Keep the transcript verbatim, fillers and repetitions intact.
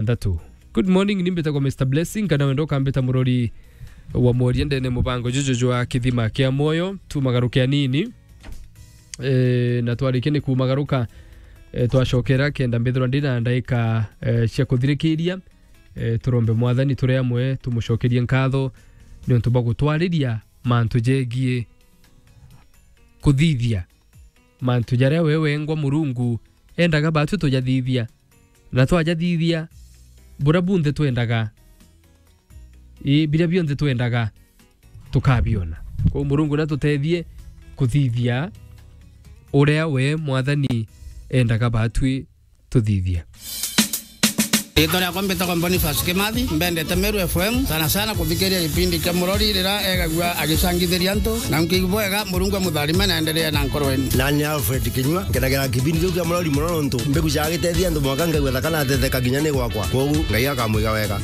nthatu. Good morning, ni mbitagwa Mister Blessing, kana wenda ukambita murori wa mworia ndene mubango juju jwa kithima kia mwoyo. Tumagaruke anini, e, na twarikia ni kumagaruka, e, twacokera kenda mbithirwa ndi na ndaika, e, cia kuthirikiria. E, turombe Mwathani turi amwe, tumucokerie nkatho ni untu bwa gutwariria mantu jegie kuthithia mantu jaria we wengwa Murungu endaga batwi tujathithia. Na twajathithia, buria bunthe twendaga, ii, biria bionthe twendaga, tukabiona. Kwou Murungu natutethie kuthithia uria we Mwathani endaga batwi tuthithia. Riitwa riakwa mbitagwa Boniface Kimathi, mbendete Meru F M, sana sana kuthikiria gipindi kia Murori riria egagua agicangithiria antu, na nkiigua bwega, Murungu amutharime na endelee na nkoro yenu. Nani Alfred Kinyua, nkenagira kipindi kiu kia Murori mono nontu mbigucaga gitethia antu mwanka ngaigua thaka na ateteka kinya ni gwakwa. Kwogu Ngai akamwiga wega.